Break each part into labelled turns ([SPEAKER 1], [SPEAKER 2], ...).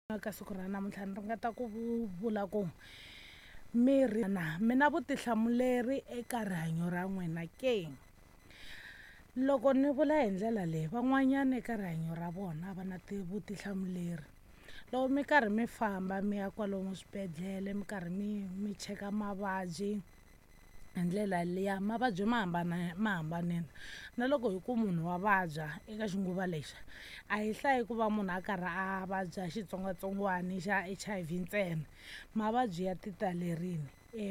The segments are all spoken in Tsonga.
[SPEAKER 1] Ka siku ra namuntlha ni ringeta ku vula ku miri na mi na vutihlamuleri eka rihanyo ra n'wina ke. Loko ni vula hi ndlela leyi van'wanyana eka rihanyo ra vona va na vutihlamuleri. Loko mi karhi mi famba mi ya kwalomu swibedhlele mi karhi mi cheka mavabyi hi ndlela liya mavabyi ma hambana ma hambanile. Na loko hi ku munhu wa vabya eka xinguva lexi a hi hlayi ku va munhu a karhi a vabya xitsongwatsongwana xa HIV ntsena, mavabyi ya ti talerini.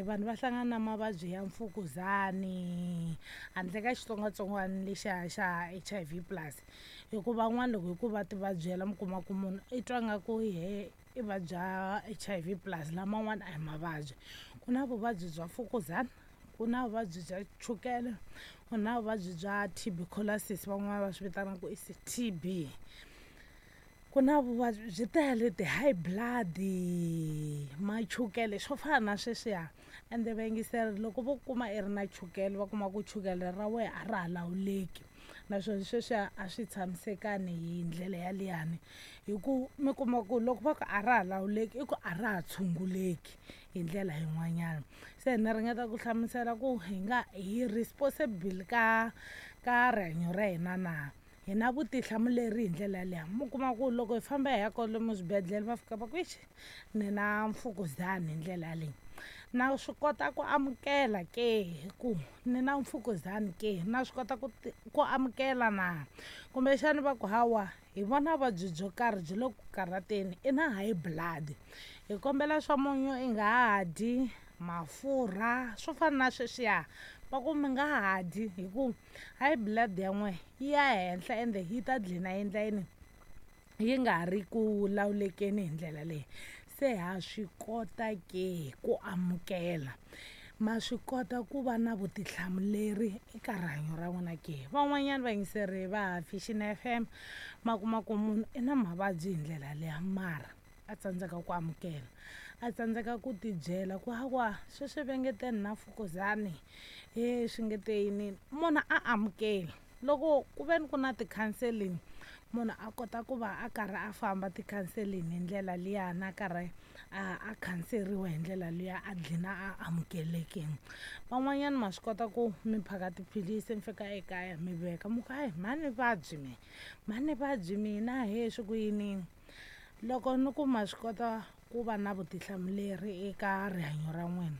[SPEAKER 1] Vanhu va hlangana na mavabyi ya mfukuzani handle ka xitsongwatsongwana lexiya xa HIV plus, hi ku van'wana loko hi ku va ti vabyela mi kuma ku munhu i twa nga ku yehe i vabya HIV plus laman'wana a hi mavabyi. Ku na vuvabyi bya mfukuzana, ku na vuvabyi bya chukele, ku na vuvabyi bya tuberculosis van'wana va swi vitanaka ku i TB. Ku na vuvabyi byi tele ti-high blood-i machukele swo fana na sweswiya. Ende vayingiseri loko vo kuma i ri na chukele va kuma ku chukele ra wena a ra ha lawuleki naswona sweswiya a swi tshamisekanga hi ndlela yaliyani, hi ku mi kuma ku loko va ku a ra ha lawuleki i ku a ra ha tshunguleki hi ndlela yin'wanyana. Se ni ringeta ku hlamusela ku hi nga hi responsible ka rihanyo ra hina na, hi na vutihlamuleri hi ndlela yaliya. Mi kuma ku loko hi famba hi ya kwalomu swibedhlele va fika va ku ixi ni na mfukuzani hi ndlela yaleyo. Na swi kota ku amukela ke hi ku ni na mfukuzani ke, na swi kota ku amukela na, kumbexani va ku hawa hi vona vuvabyi byo karhi byi le ku karhateni i na high blood, hi kombela swa munyu i nga ha dyi, mafurha swo fana na sweswiya va ku mi nga ha dyi hi ku high blood ya n'we yi ya henhla ende yi ta dlina yi endla yini, yi nga ha ri ku lawulekeni hi ndlela leyi. Se ha swi kota ke ku amukela, ma swi kota ku va na vutihlamuleri eka rihanyo ra n'wina ke. Van'wanyana vayingiseri va Vision F_M ma kuma ku munhu i na mavabyi hi ndlela liya mara a tsandzeka ku amukela, a tsandzeka ku tibyela ku hawa sweswi va nge te ni na mfukuzani he swi nge te yiniyini munhu a amukeli. Loko ku ve ni ku na ti-counselling munhu a kota ku va a karhi a famba ti-counselling hi ndlela liyani a karhi a khanseriwa hi ndlela liya a dlina a amukelekini. Van'wanyana ma swi kota ku mi phaka tiphilisi mi fika ekaya mi veka mi ku hayi mhani vabyi me, mhani vabyi mina he swi ku yiniyini. Loko ni ku ma swi kota ku va na vutihlamuleri eka rihanyo ra n'wina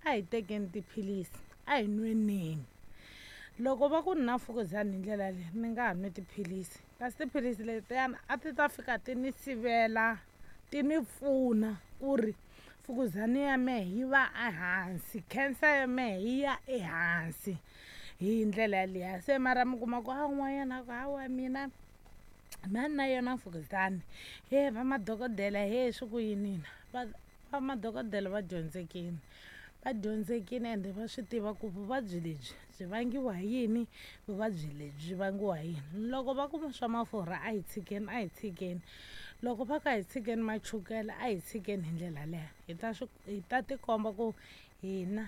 [SPEAKER 1] a hi tekeni tiphilisi a hi nweneni. Loko va ku ni na mfukuzani hi ndlela leyi ni nga ha nwi tiphilisi, kasi tiphilisi letiyani a ti ta fika ti ni sivela ti ni pfuna ku ri mfukuzani ya mehe yi va ehansi, cancer ya mehe yi ya ehansi hi ndlela yaliya. Se mara mi kuma ku a wun'wanyana a ku hawa mina mhani na yona mfukuzani he va madokodela he swi ku yiniyini, va madokodela va dyondzekini, va dyondzekini ende va swi tiva ku vuvabyi lebyi byi vangiwa hi yini, vuvabyi lebyi byi vangiwa hi yini. Loko va ku swa mafurha a hi tshikeni a hi tshikeni, loko va ku a hi tshikeni machukele a hi tshikeni hi ndlela yaleyo hi ta swi hi ta tikomba ku hina.